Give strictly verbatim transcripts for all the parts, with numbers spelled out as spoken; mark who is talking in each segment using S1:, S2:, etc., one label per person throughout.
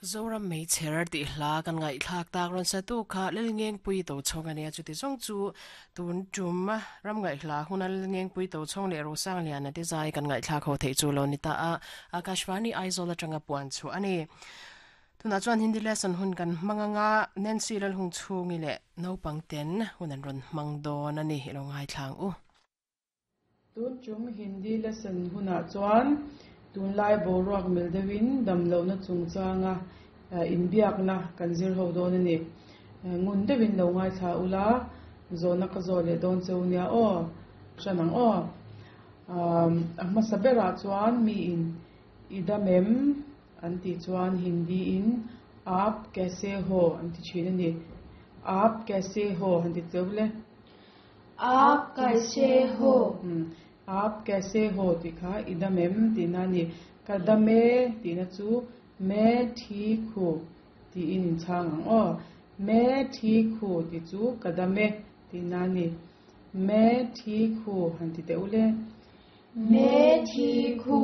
S1: Zoram Meichher tih hla kan ngaihthlak tak rawn satu kha Lalngengpui Tochhawng a nia chuti zawng chu tun tum ram ngaihhla huna Lalngengpui Tochhawng leh Rosangliana te zai kan ngaihthlak ho theih chu lo ni ta a Akashvani Aizawl atanga puan chu a ni Tuna chuan Hindi lesson hun kan hmanganga Nancy Lalhung chhungi leh naupang ten hun an rawn hmang dawn a ni ilo ngai thlang u
S2: Tun tum Hindi lesson hunah chuan tunlai boruak mil deuhin damlohna chungchanga inbiakna kan zir ho dawn a ni ngun deuhin lo ngai thla ula zawhna ka zawh leh dawn cheu nia aw hran ang aw a hmasa berah chuan mi in i dam em an tih chuan Hindi in aap kaise ho an ti thin a ni aap kaise ho han ti cheu le
S3: आप कैसे हो
S2: aap kaise ho tih kha i dam em tihna a ni ka dam e tihna chu main theek hu tiin in chhang ang aw main theek hu tih chu ka dam e tihna a ni main theek hu han ti teh ule
S3: main theek hu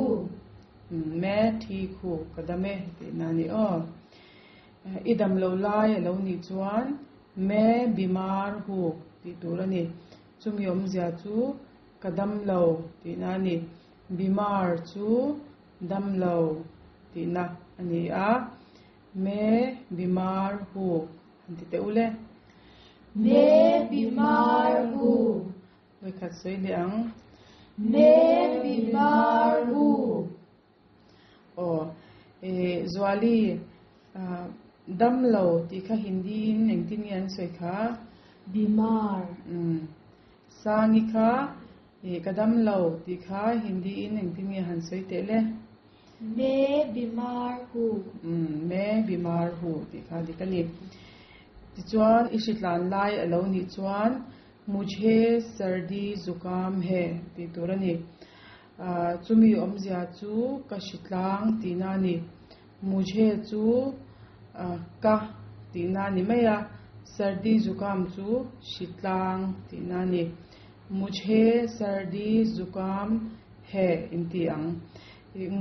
S2: main theek hu ka dam e tihna a ni aw i dam lo lai a lo nih chuan main bimar hu tih tur a ni chumi awmzia chu ka dam lo tihna a ni bimar chu dam lo tihna a ni a main bimar hu han ti teh ule
S3: main bimar hu
S2: vawikhat sawi leh ang
S3: main bimar hu
S2: aw e Zuali dam lo tih kha Hindi in engtin nge an sawi kha
S3: bimar
S2: um sangi kha e ka dam lo tih kha Hindi in engtin nge han sawi teh le
S3: main bimar hu
S2: um main bimar hu tih kha dik a ni tichuan i hritlan lai a lo nih chuan mujhe sardi zukam hai tih tur a ni chumi awmzia chu ka hritlang tihna a ni mujhe chu ka tihna a ni mai a sardi zukam chu hritlang tihna a ni mujhe sardi zukam hai in ti ang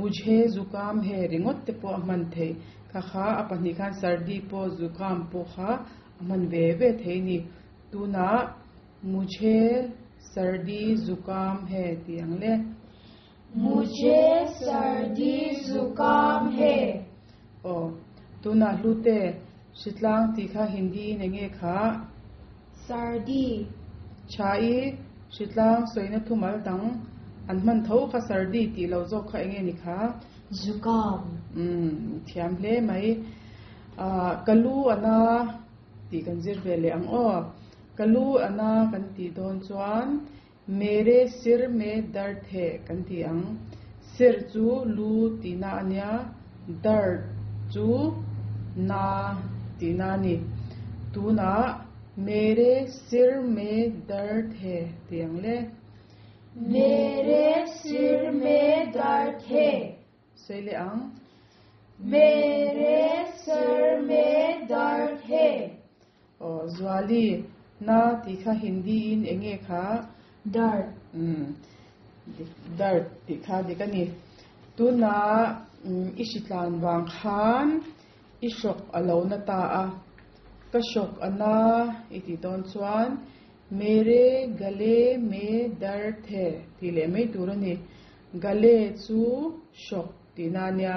S2: mujhe zukam hai ringawt te pawh a hman thei kha kha a pahnih khan sardi pawh zukam pawh kha a hman ve ve thei ni tunah mujhe sardi zukam hai ti ang le
S3: mujhe sardi zukam hai
S2: aw tunah hlute hritlang tih kha Hindi in enge kha
S3: sardi
S2: chai hritlang sawina thumal dang an hman tho kha sardi tih lo zawk kha enge ni kha
S3: zukam
S2: um thiam hle mai a kalu ana tih kan zir ve leh ang aw kalu ana kan tih dawn chuan mere sir mein dard hai kan ti ang sir chu lu tihna ania dard chu na tihna a ni tunah mere sir mein dard hai ti ang le
S3: mere sir mein dard hai
S2: sawi leh ang
S3: mere sir mein dard hai
S2: aw Zuali na tih kha Hindi in enge kha
S3: dard
S2: um dard tih kha dik a ni tunah i hritlan wang khan i hrawk a lo na ta a ka hrawk ana i tih dawn chuan mere gale mein dard hai tih leh mai tur a ni gale chu hrawk tihna ania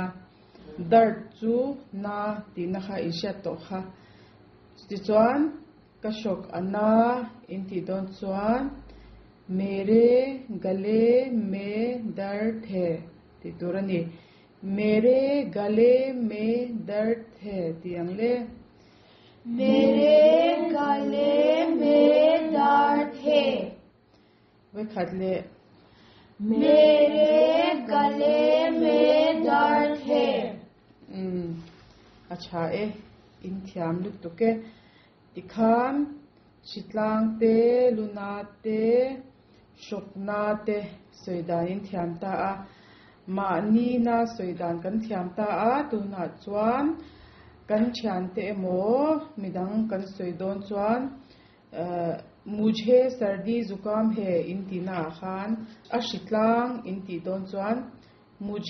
S2: dard chu na tihna kha in hriat tawh kha tichuan ka hrawk ana in tih dawn chuan mere gale mein dard hai tih tur a ni mere gale mein dard hai ti ang le
S3: mere gale mein dard hai
S2: vawikhat leh
S3: mere gale mein dard hai
S2: um a tha e in thiam lutuk e tikhan hritlang te luna te hrawkna te sawidan in thiam ta a mahni na sawidan kan thiam ta a tunah chuan kan thian te emaw midang kan sawi dawn chuan mujhe sardi zukam hai in tihna ah khan a hritlang in tih dawn chuan mujhe